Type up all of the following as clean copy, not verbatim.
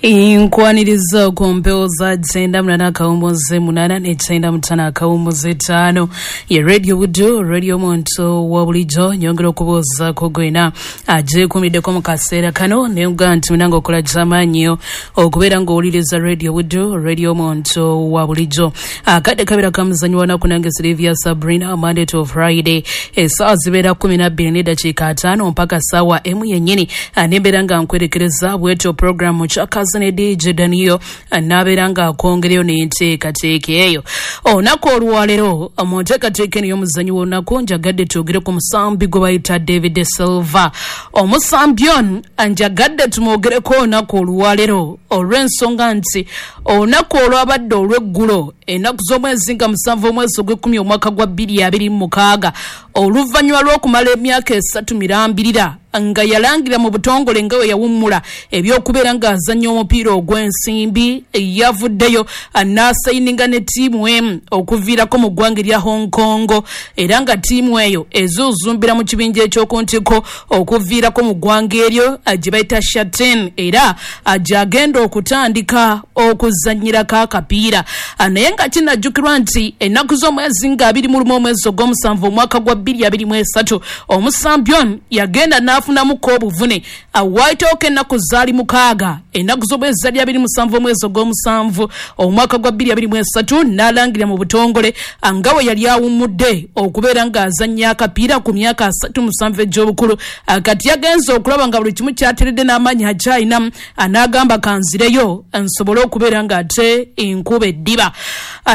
Nkwaniriza ku mpewo za 98.8 ne 95.5 ye Radio Buddu, radio omuntu wa bulijjo. Nyongera okubuuzaako gwena agyekuumiddeko mu kaseera kano, naye nga nti munange okola kyamaanyi okubeera ng'owuliriza Radio Buddu, radio omuntu wa bulijjo. Akadde kabeera kamuzanyo wanaku nange Sylvia Sabrina, Monday to Friday essaawa zibeera 12:05 mpaka ssaawa 1 yennyini, nembeera nga nkwerekereza bwetyo programu kyakazi ne DJ Daniel n'abeera ng'akwongereyo n'enteekateeka eyo. Olunaku olwaleero mu nteekateeka eno y'omuzannyo w'olunaku njagadde twogere ku musambi gwe bayita David Silva. Omusambi ono njagadde tumwogereko olunaku olwaleero olw'ensonga nti olunaku olwabadde olw'eggulo ennaku z'omwezi nga 7 omwezi ogw'ekkumi omwaka gwa 2026, oluvannyuma lw'okumala emyaka 3 mirambirira nga yalangira mu butongole nga we yawummula ebyokubeera ng'azannya omupiira ogw'ensimbi, yavuddeyo n'asayininga ne ttiimu emu okuviirako mu ggwanga erya Hong Kong, era nga ttiimu eyo ezuuzumbira mu kibinja eky'oku ntiko okuviirako mu ggwanga eryo gye bayita Shatin, era gy'agenda okutandika okuzannyirako akapiira. Naye nga kinajjukirwa nti ennaku z'omwezi nga 21 omwezi ogw'omusanvu omwaka gwa 2023 omusambi ono yagenda n'afunamuko obuvune. Waayitawo ennaku zaali 6, ennaku z'omwezi zaali 27 omwezi ogw'omusanvu omwaka gwa 2023 n'alangira mu butongole nga we yali awummudde okubeera ng'azannya akapiira ku myaka 37 egy'obukulu. Kati yagenze okulaba nga buli kimu kyateredde n'amaanyi akyalinamu, n'agamba kanzireyo nsobole okubeera ng'ate enkuba eddiba.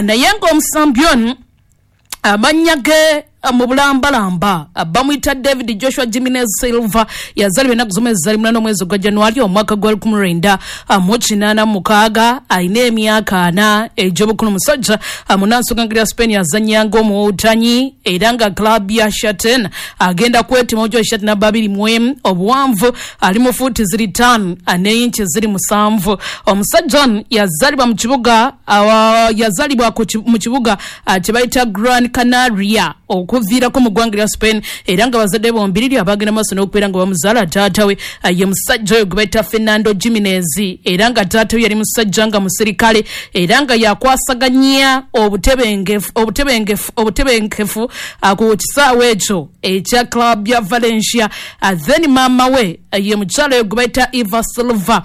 Naye ng'omusambi ono amannya ge mu bulambalamba bamuyita David Joshua Jimenez Silva, yazaalibwa ennaku z'omwezi zaali 8 omwezi ogwa Januari omwaka gwa 1986, alina emyaka 4 egy'obukulu. Musajja munnansi ya Spain, azannya ng'omuwutanyi era nga club ya Shatin agenda kwetima ojo Shatin namba 21, obuwanvu ali mu fuuti ziri 5 n'eyinki ziri 7. Omusajja ono yazaalibwa mu kibuga yazaalibwa mu kibuga kye bayita Gran Canaria okuviirako mu ggwanga lya Spain, era nga bazadde bombiriri abagenda maaso n'okubeera nga bamuzaala. Taata we ye musajja oyo gwe bayita Fernando Jimenez, era nga taata we yali musajja nga musirikale, era nga yakwasaganya obutebenkefu ku kisaawe ekyo ekya club ya Valencia. Then maama we ye mukyala oyo gwe bayita Eva Silva.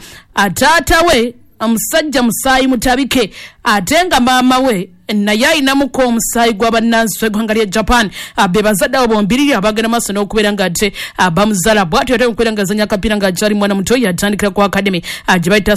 Taata we omusajja musaayi mutabike, ate nga maama we naye ayinamuko omusaayi gw'abannansi w'eggwanga lya Japan. Be bazadde abo bombiriri abagenda maaso n'okubeera nga ate bamuzaala. Bw'atyo ate okubeera ng'azannya akapiira ng'akyali mwana muto, yatandikira ku academy gye bayita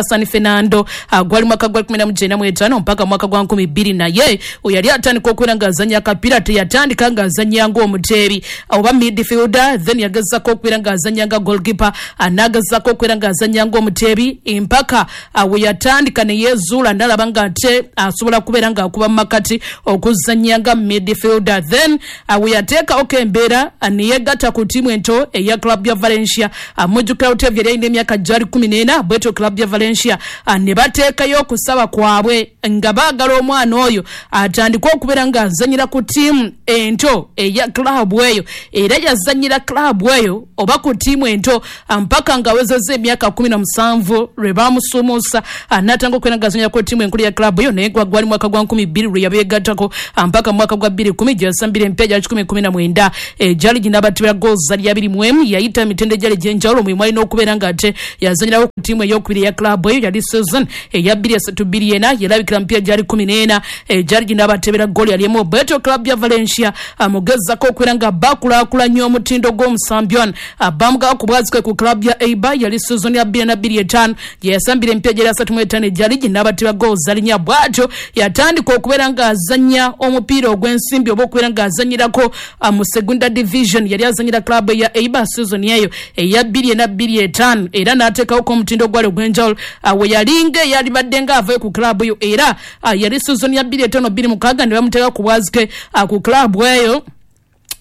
San Fernando, gwali mwaka gwa 1995 mpaka mwaka gwa 2000. Naye yali atandika okubeera ng'azannya akapiira, teyatandika ng'azannya ng'omuteebi oba midfielder, then yagezaako okubeera ng'azannya nga goalkeeper, n'agezaako okubeera ng'azannya ng'omuteebi mpaka we yatandika ne yeezuula n'alaba ng'ate asobola kubeera ng'akuba mu makati okuzannya nga midfielder. Then we yateekawo embeera ne yeegatta ku ttiimu ento eya club ya Valencia. Mujjukira Otevi yali alina emyaka gyali 14, bwetyo club ya Valencia ne bateekayo okusaba kwabwe nga baagala omwana oyo atandike okubeera ng'azannyira ku ttiimu ento eya club eyo, era yazannyira club eyo oba ku ttiimu ento mpaka ng'awezezza emyaka 17 lwe baamusuumuusa n'atandika okubeera ng'azannyira ku ttiimu enkulu ya club eyo. Naye gwali mwaka gwa 2000 lwe yabeegattako mpaka mwaka gwa 2010 gye yasambira empya gya 119 egyali ginabatibira goals zali 21. Yayita emitendo egyali egy'enjawulo mulimu alina okubeera ng'ate yazannyirawo ku ttiimu ey'okubiri eya club eyo, yali season eya 2034, yalabikira mpya gyali 14 egyali ginabatebera goal yali emu. Bwetyo club ya Valencia mugezako okubeera nga bakulaakulanya omutindo gw'omusambi ono, bamugawa ku bwazike ku club ya Eibar, yali season ya 2025 gye yasambira empya gyali 35 egyali ginabatebera goals zali 4. Bw'atyo yatandika okubeera ng'azannya omupiira ogw'ensimbi oba okubeera ng'azannyirako mu Segunda Division, yali azannyira club ya Eibar season eyo eya 2025, era n'ateekawoko omutindo gwali ogw'enjawulo we yalinga eyalibadde ng'avayo ku club eyo, era yali season ya 2025-26 ne bamuteeka ku bwazike ku club eyo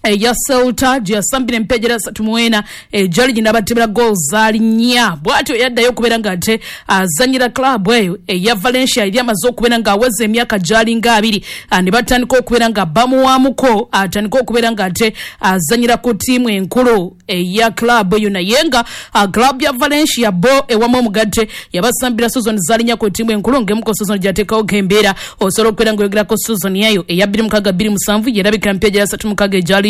Eya Celta gye yasambira empejera 34 egyali ginabatebera goal zaali 4. Bw'atyo yaddayo okubeera ng'ate azannyira club eyo eya Valencia eri amaze okubeera ng'aweza emyaka gy'alinga 2, ne batandika okubeera nga bamuwaamuko atandika okubeera ng'ate azannyira ku ttiimu enkulu eya club eyo. Naye nga club ya Valencia bo ewamu omugatte yabasambira season zaali 4 ku ttiimu enkulu, ng'emu ku season gy'ateekawo embeera osobola okubeera ng'oyogerako season eyo eya 2006-2007 yerabikira mpejera 36 egyali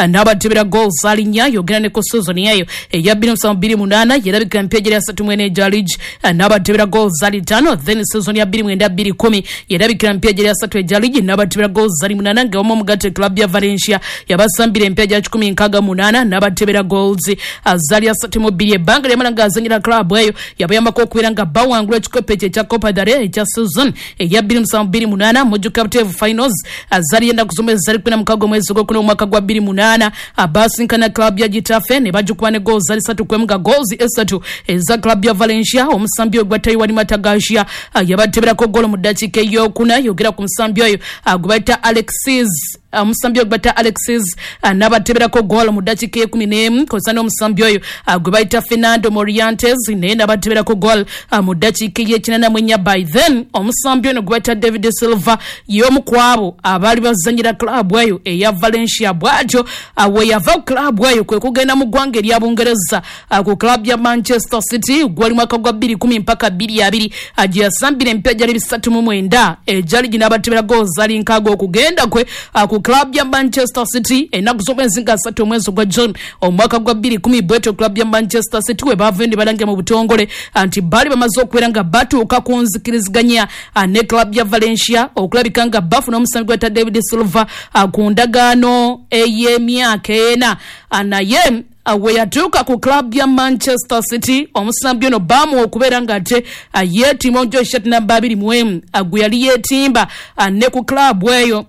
n'abatebera goals zaali 4. Yogera ne ku season eyo eya 2007-2008 yerabikira mpejera 34 egya league n'abatebera goals zaali 5. Then season ya 2009-2010 yerabikira mpejera 3 egya league n'abatebera goals zaali 8, nga wamu omugatte club ya Valencia yabasambira empejera 168 n'abatebera goals zaali 32. Ebbanga lyamala ng'azannyira club eyo yabayambako okubeera nga bawangula ekikopo ekyo ekya Copa del Rey ekya season eya 2007-2008 mujjuka buteevu finals zaali ennaku z'omwezi zaali 16 omwezi gwokuna omwaka gwa 2008 abasinkana club ya Getafe ne bagikuba ne goals zaali 3-1, nga goals 3 eza club ya Valencia. Omusambi oyo gwa Taiwan Matagashia yabateberako golo mu ddakiika ey'okuna. Yogera ku musambi oyo gwe bayita Alexis, omusambi oyo gwe bayita Alexis n'abateberako goal mu ddakiika e11, kozesa n'omusambi oyo gwe bayita Fernando Morientes naye n'abateberako goal mu ddakiika ey'ekinana. By then omusambi ono gwe bayita David Silva y'omu ku abo abaali bazannyira club eyo eya Valencia. Bw'atyo we yava ku club eyo kwe kugenda mu ggwanga erya Bungereza ku club ya Manchester City gwali mwaka gwa 2010 mpaka 2020 gye yasambira emipiira gyali 39 egyali ginabatebera goals zaali 6. Okugenda kwe ku club ya Manchester City ennaku z'omwezi nga 3 omwezi gwa June omwaka gwa 2010, bwetyo club ya Manchester City we baavayo ne balangira mu butongole nti baali bamaze okubeera nga batuuka ku nzikiriziganya ne club ya Valencia okulabika nga bafuna omusambi gwe bayita David Silva ku ndagaano ey'emyaka 4. Naye we yatuuka ku club ya Manchester City omusambi ono baamuwa okubeera ng'ate yeetimba omujo shirt namba 21 gwe yali yeetimba ne ku club eyo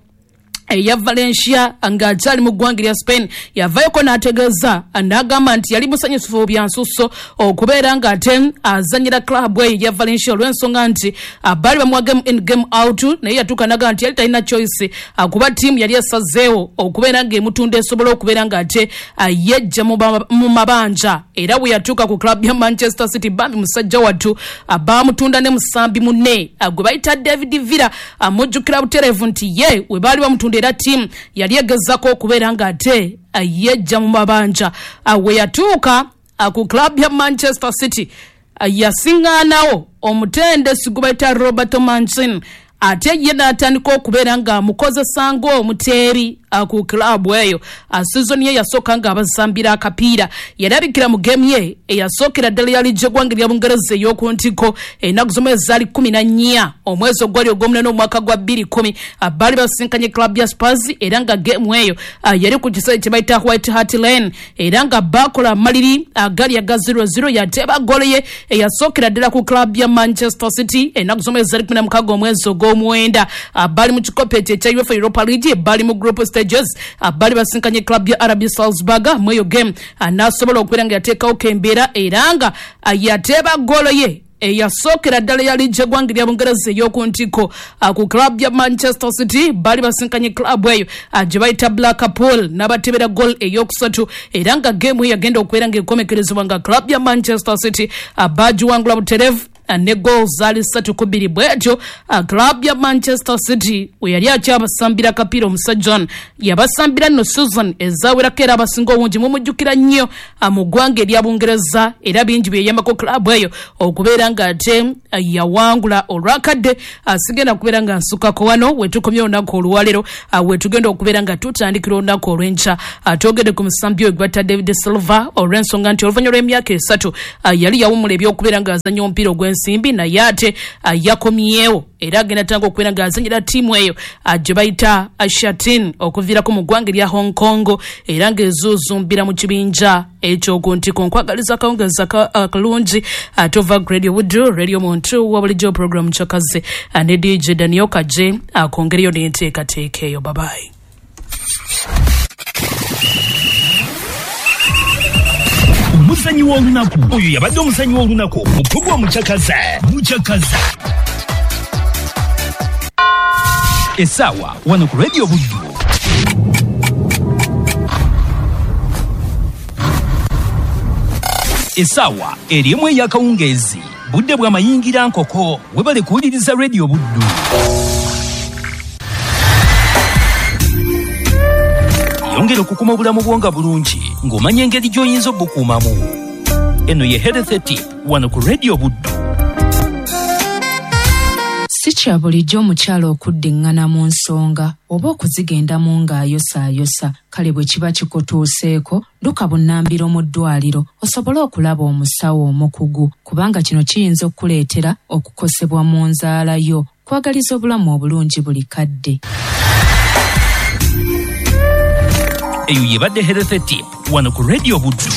eya Valencia ng'akyali mu ggwanga lya Spain. Yavayoko n'ategeeza n'agamba nti yali musanyufu bya nsusso okubeera ng'ate azannyira club eyo ya Valencia olw'ensonga nti baali bamuwa game in game out, naye yatuuka n'agamba nti yali talina choice kuba ttiimu yali esazeewo okubeera ng'emutunda esobola okubeera ng'ate yejja mu mabanja. Era bwe yatuuka ku club ya Manchester City bambi musajja wattu baamutunda ne musambi munne gwe bayita David Villa. Mujjukira butereevu nti ye we baali bamutunda era ttiimu yali egezaako okubeera ng'ate yejja mu mabanja. We yatuuka ku club ya Manchester City yasiŋŋaanawo omutendesi gwe bayita Roberto Mancini, ate ye n'atandika okubeera ng'amukozesa ng'omuteebi ku club eyo. Season ye yasooka ng'abasambira akapiira, yalabikira mu game ye eyasookera ddala ya liigi y'eggwanga erya Bungereza ey'oku ntikko ennaku z'omwezi zaali 14 omwezi ogwali ogw'omunaana omwaka gwa 2010, baali basinkanye club ya Spurs era nga game eyo yali ku kisaawe kye bayita White Hart Lane, era nga baakola amaliri agali aga 0-0. Yateeba goolo ye eyasookera ddala ku club ya Manchester City ennaku z'omwezi zaali 16 omwezi ogw'omwenda. Baali mu kikopo ekyo ekya UEFA Europa League, baali mu group stages, baali basinkanye club ya RB Salzburg. Mu eyo game n'asobola okubeera nga yateekawo embeera era nga yateeba goolo ye eyasookera ddala ya liigi y'eggwanga erya Bungereza ey'oku ntikko ku club ya Manchester City. Baali basinkanye club eyo gye bayita Blackpool n'abatebera goal eyokusatu, era nga game eyo yagenda okubeera ng'ekomekerezebwa nga club ya Manchester City bagiwangula butereevu ne goals zaali 3-2. Bwetyo club ya Manchester City we yali akyabasambira akapiira omusajja ono yabasambira nno season ezawerako, era abasinga obungi mumujjukira nnyo mu ggwanga erya Bungereza, era bingi bye yayambako club eyo okubeera ng'ate yawangula. Olwakadde sigenda kubeera nga nsukako wano wetukomye olunaku olwaleero, wetugenda okubeera nga tutandikira olunaku olw'enkya. Twogedde ku musambi oyo gwe bayita David Silva olw'ensonga nti oluvannyuma lw'emyaka 3 yali yawummula ebyokubeera ng'azannya omupiira ogw'ensimbi, naye ate yakomyewo era agenda tanga okubeera ng'azannyira ttiimu eyo gye bayita Shatin okuviirako mu ggwanga erya Hong Kong, era ng'ezuuzumbira mu kibinja ekyoku ntiko. Nkwagaliza akawungezi akalungi. Tova Radio Buddu, Radio Muntu wa bulijjo, program Kyakaze ne DJ Daniel Kaje akongereyo n'enteekateeka eyo. Babayi. Omuzanyi w'olunaku oyo yabadde omuzanyi w'olunaku mu pulogulaamu Mukyakaza. Mukyakaza essaawa wano ku Radio Buddu. Essaawa eri emu ey'akawungeezi, budde bwa mayingira nkoko. Webale kuwuliriza Radio Buddu. Yongera okukuma obulamu bwo nga bulungi ng'omanya engeri gy'oyinza obukuumamu. Eno ye Health Tip wano ku Radio Buddu. Si kya bulijjo omukyala okuddiŋŋana mu nsonga oba okuzigendamu ng'ayosaayosa. Kale bwe kiba kikutuuseeko, dduka bunnambiro mu ddwaliro osobole okulaba omusawo omukugu, kubanga kino kiyinza okukuleetera okukosebwa mu nzaala yo. Kwagaliza obulamu obulungi buli kadde. Eyo yebadde Health Tip wano ku Radio Buddu.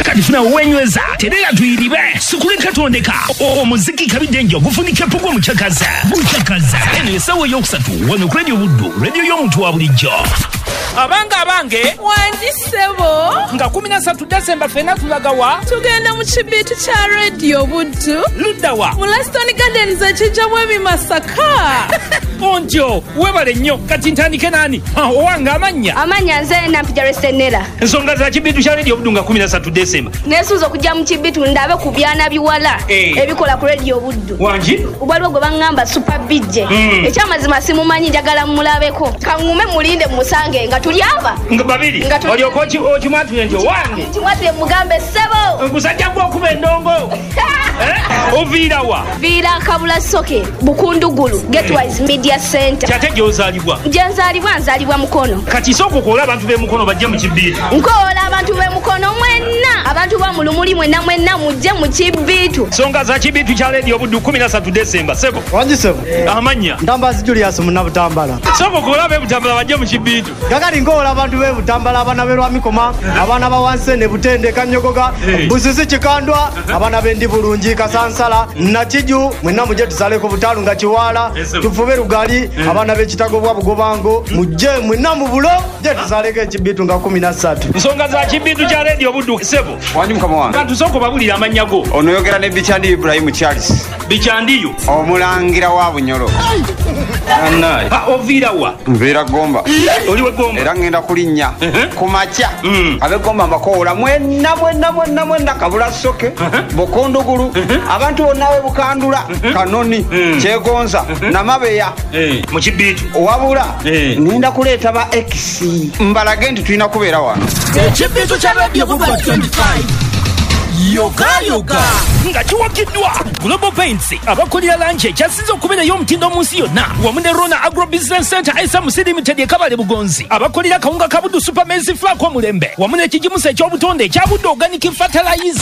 Kati funa wenyweza terera tuyiribe sikuleka tondeka omuziki kabidde njo gufunike pugwa muchakaza buchakaza. Eno essaawa eyokusatu wano ku Radio Buddu, radio y'omuntu wa bulijjo. Abange abange, wangi ssebo, nga 13 Desemba ffenna tulagawa, tugenda mu kibiitu kya Radio Buddu. Luddawa? Mu Laston Gardens ekijjamu ebimasaka. Ontyo webale nnyo. Kati ntandike nani? Owange amannya? Amannya nze Nampija Resenera. Ensonga za kibiitu kya Radio Buddu nga 13 Desemba. Neesunze okujja mu kibiitu ndabe ku byana biwala ebikola ku Radio Buddu. Wangi? Waliwo gwe baŋŋamba Super BJ. Ekyamazima simumanyi, njagala mmulabeko. Kaŋŋume mulinde musange nga tuli aba. Nga babiri. Olyoka okimwatule nti owange. Kimwatule mugambe ssebo. Gusajja gw'okuba endongo. Oviira wa? Viira Kabula Soke, Bukundugulu, Getwise Media Center. Kyate gy'ozaalibwa? Gye nzaalibwa, nzaalibwa Mukono. Kati sooka okoola abantu b'e Mukono bajje mu kibiitu. Nkoola abantu b'e Mukono mwenna, abantu ba mu Lumuli mwenna mwenna mujje mu kibiitu. Nsonga za kibiitu kya Radio Buddu 13 Desemba, ssebo. Wangi ssebo. Amannya? Ntambazi Julius Munnabutambala. Sooka okoola ab'e Butambala bajje mu kibiitu. Kakati nkoola abantu b'e Butambala, abaana b'e Lwamikoma, abaana ba Wansene, Butende, Kanyogoga, Busisi, Kikandwa, abaana b'e Bulungi, Kasansala, Nakiju, mwenna mujje tusaleko Butalu nga Kiwaala, tufube Lugali, abaana b'Ekitago bwa Bugobango, mujje mwenna mu bulo, mujje tusaleko ekibiitu nga 13. Nsonga za kibiitu kya Radio Buddu, ssebo. Wangi mukama wange. Kantu sooka obabulire amannya go. Ono yogera ne Bichandi Ibrahim Charles. Bichandiyo? Omulangira wa Bunyoro. Oviira wa? Nviira Gomba. Oli we Gomba? Era ngenda kulinnya ku makya. Ab'e Gomba mbakoola mwenna mwenna mwenna mwenna, Kabula Soke, Bukundugulu, abantu bonna b'e Bukandula, Kanoni, Kyegonza, Namabeya. Mu kibiitu. Wabula ngenda kuleeta ba X mbalage nti tulina kubeera wano. Ekibiitu kya Radio Buddu 25. Yoga yoga nga kiwagiddwa Global Paints abakolera langi ekyasinze okubeerayo omutindo mu nsi yonna, wamu ne Rona Agro Business Center SMC Limited e Kabale Bugonzi abakolera kawunga ka Buddu Super Maize Flour omulembe, wamu n'ekigimusa eky'obutonde ekya Buddu Organic Fertilizer.